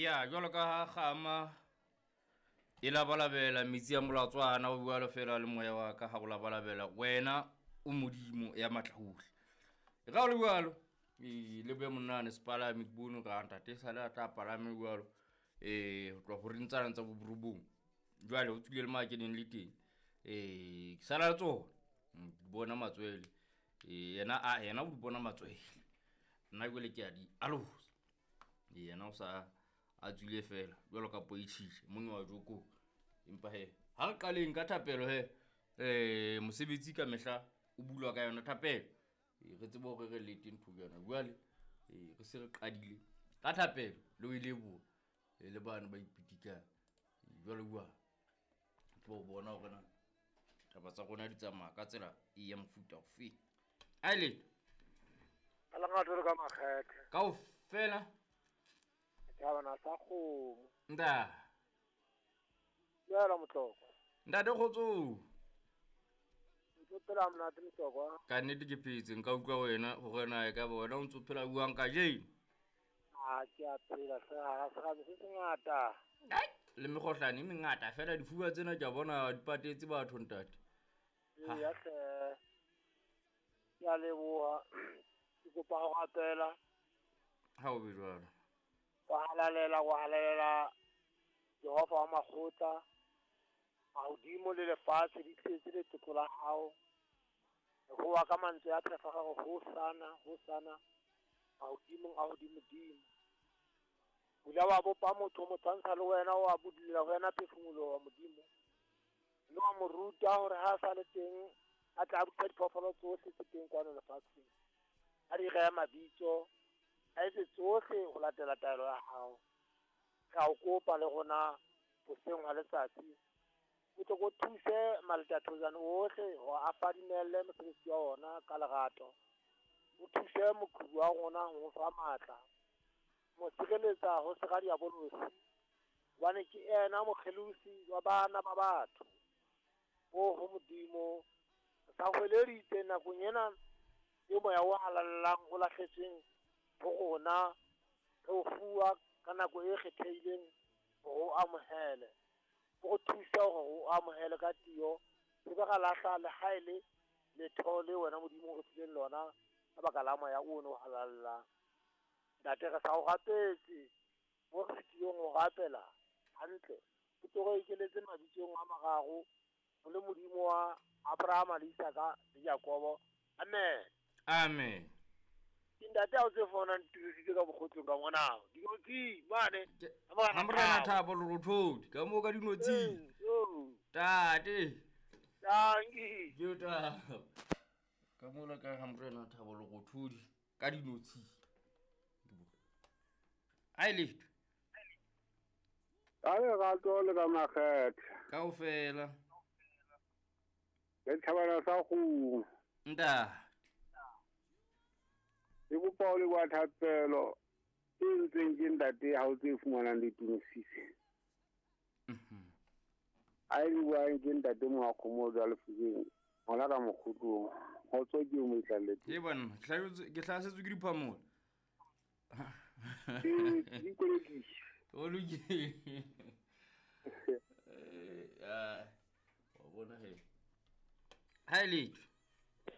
Ya jwalo ka ha kgama e labalabela metsi a molatswana, o jwalo fela le moya wa ka ha o labalabela wena o Modimo ya matla ohle. E ka o le jwalo, ee, le be monnane sepalame ke bone hore ah, ntate sale a tla palame jwalo. Ho tloha horeng tsana tsa boborobong. Jwale o tswile le mo a keneng le teng. Ke sala le tsona. Ke bona matswele. Yena a yena o di bona matswele. Nna jwale ke a di alosa. Yena o sa a tswile fela jwalo ka poitjhitjhe mong wa joko. Empa he ha re qaleng ka thapelo he. Mosebetsi ka mehla o bulwa ka yona thapelo. Re tsebe hore re lete ntho jwana. Jwale re se re qadile ka thapelo le ho e leboha. Le bana ba ipitikang. Jwale bua. Tlo bona hore na taba tsa rona di tsamaya ka tsela e ya mofuta ofe. A le. Ka lerato le ka makgethe. Kaofela. Thabana sa kgomo. Nta. Dumela Motlokwa. Ntate kgotso. Ntse phela monate Motlokwa. Ka nnete ke phetse, nka utlwa wena hore na e ka ba wena o ntso phela buang kajeno. A ke a phela hle, ha serame se sengata. Ai, le mekgohlane e mengata fela difuba tsena ke a bona di patetse batho ntate. Eya hle. Ke a leboha. Ke kopa ho rapela. Ha o be jwalo. Wa halalela, wa halalela Jehova wa makgotla. Mahodimo le lefatshe di tletse letlotlo la hao. Re hoa ka mantswe a phefa re hosana, hosana mahodimong a hodimodimo. O ile wa bopa motho o mo tshwantsha le wena, wa budulela ho yena phefumoloho wa Modimo. Mme wa mo ruta hore ha a sa le teng a tla busa diphoofolo tsohle tse teng kwano lefatsheng. A di rehe mabitso, a etse tsohle ho latela taelo ya hao. Re a o kopa le rona hoseng hwa letsatsi, o tle o thuse maletathojane ohle hore a fadimelle mosebetsi wa ona ka lerato. O thuse moqhubu wa rona ho mo fa matla, mo sireletsa ho sera diabolosi, hobane ke yena mokgelosi wa bana ba batho. Oho Modimo, re sa hweleditse nakong ena e moya o halalelang o lahletsweng ho rona, re o fuwa ka nako e kgethehileng hore o amohele. O re thuse hore o amohele ka tiyo, se be ra lahla le ha e le letho le wena Modimo o re fileng lona ka baka la moya ono o halalelang. Ntate, re sa o rapetse mo re fetileng ho rapela hantle, o tlo re ekeletse mabitsong a mararo, o le Modimo wa Abrahama le Isaka le Jakobo. Amen. Amen. Ke ntate ha o tse fona ntirisitse ka bokgotlong ka ngwana. Dinotshi mane. Ha Morena Thabo Lerothodi ka moo ka dinotshi. Tate. Tanki. Ke ta. Ka mona ka ha Morena Thabo Lerothodi ka dinotshi. Ai letho. Ka lerato le ka makgethe. Kaofela. Le thabana sa kgomo. Nta. Ke kopa ho leboha thapelo e ntseng ke ntate ha o tse fumanang le tumisise. A e buang ke ntate Moakgomo jwa Lefokeng, hona ka mokgotlong. Kgotso ke o mo itlalletse. Ke bona, ke hlasetswe ke diphamola. Ke di kolekisa. O lokile. Wa bona he. Ha e letho.